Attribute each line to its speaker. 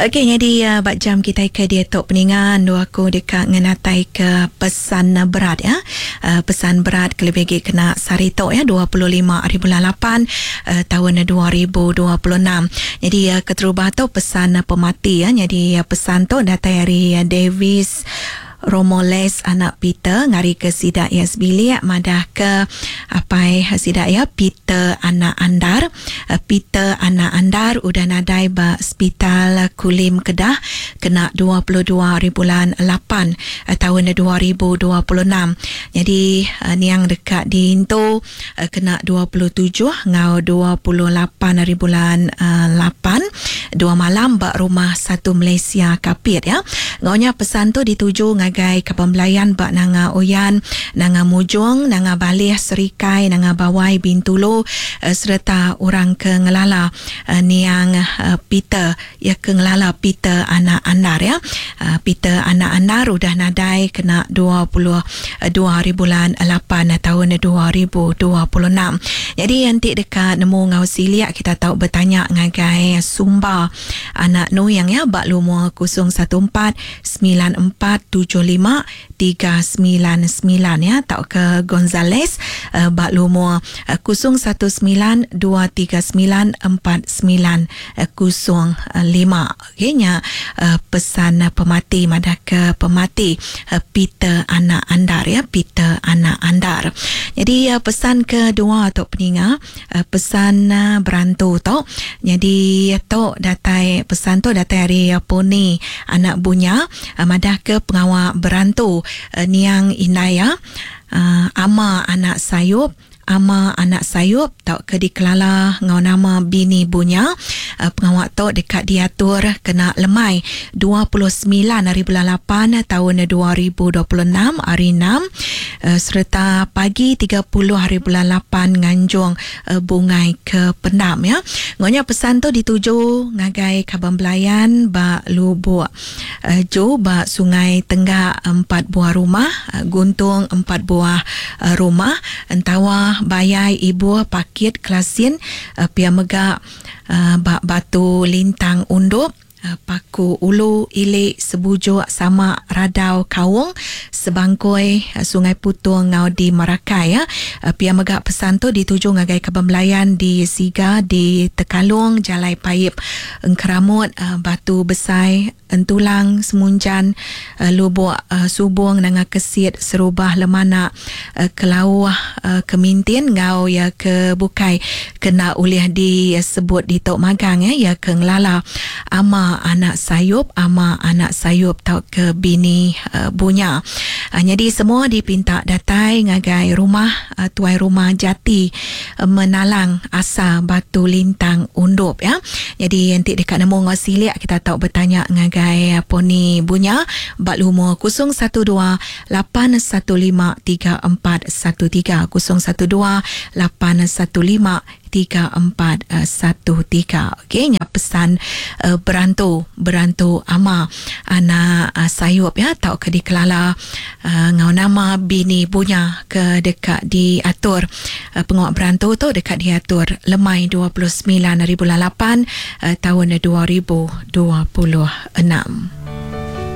Speaker 1: Okey nyadi ba jam kitai ke diatu peninga endu aku deka ngenatai ke pesan berat ya. Pesan berat kelebih agi kena sehari tu ya 25 hari bulan 8 taun 2026. Nyadi keterubah tu pesan pemati ya. Nyadi pesan tu datai ari Davis Romoles anak Peter ngarika sida iya sebilik madahka apai sida iya Peter anak Andar. Peter anak Andar udah nadai ba Sepital Kulim Kedah kena 22 haribulan lapan taun 2026. Nyadi niang deka diintu kena 27 enggau 28 haribulan lapan dua malam ba Rumah Satu Malaysia Kapit ya. Enggau nya pesan tu dituju ngagai kaban belayan ba Nanga Oyan, Nanga Mujong, Nanga Balih, Serikai, Nanga Bawai, Bintulu sereta orang ke ngelala niang Peter iya ke ngelala Peter anak Andar ya. Peter anak Andar udah nadai kena 22 haribulan lapan taun 2026. Nyadi enti deka nemu enggau silik kita tau betanya ngagai Sumba anak Nuing ya ba lumur 014 9475 399 ya tauka Gonzales ba lumur 019 239 4905. Okey nya pesan pemati madah ke pemati Peter anak Andar ya Peter anak Andar. Jadi pesan kedua tu peninga pesan berantu tu nyadi tu datai pesan tu datai ari Poni anak Bunya madah ke pengawa berantu niang indai iya Ama anak Sayup Ama anak Sayup tauka dikelala enggau nama Bini Bunya. Pengawa tu deka diatur kena lemai 29 hari bulan lapan taun 2026 hari enam sereta pagi 30 hari bulan lapan nganjung bungai ke pendam ya. Enggau nya pesan tu dituju ngagai kaban belayan ba Lubuk Ju ba Sungai Tenggak empat buah rumah, Guntung empat buah rumah, Entawa, Bayai, Ibuh, Pakit, Klasin, pia mega ba Batu Lintang Undup, Paku Ulu, Ili, Sebujuk, Sama, Radau, Kaung, Sebangkoi, Sungai Putung enggau di Marakai. Pia mega pesan tu dituju ngagai kaban belayan di Siga di Tekalong, Jalai Paip Engkeramut, Batu Besai, Entulang, Semunjan, Lubok Subong, Nanga Kesit, Serubah, Lemanak, Kelauh, Kemintin enggau iya ke bukai ke enda ulih disebut ditu magang iya ke ngelala ama anak sayup, ama anak sayup tauka bini Bunya. Nyadi semua dipinta datai ngagai rumah tuai rumah Jati Menalang Asa Batu Lintang Undup ya. Nyadi enti deka nemu enggau silik kita tau betanya ngagai Poni Bunya ba lumur 012 815 3413 012 815 3413. Okey nya pesan berantu berantu ama anak sayup ya tauka dikelala enggau nama bini Bunya ke deka diatur pengawa berantu tu deka diatur lemai 29 hari bulan 8 taun 2026.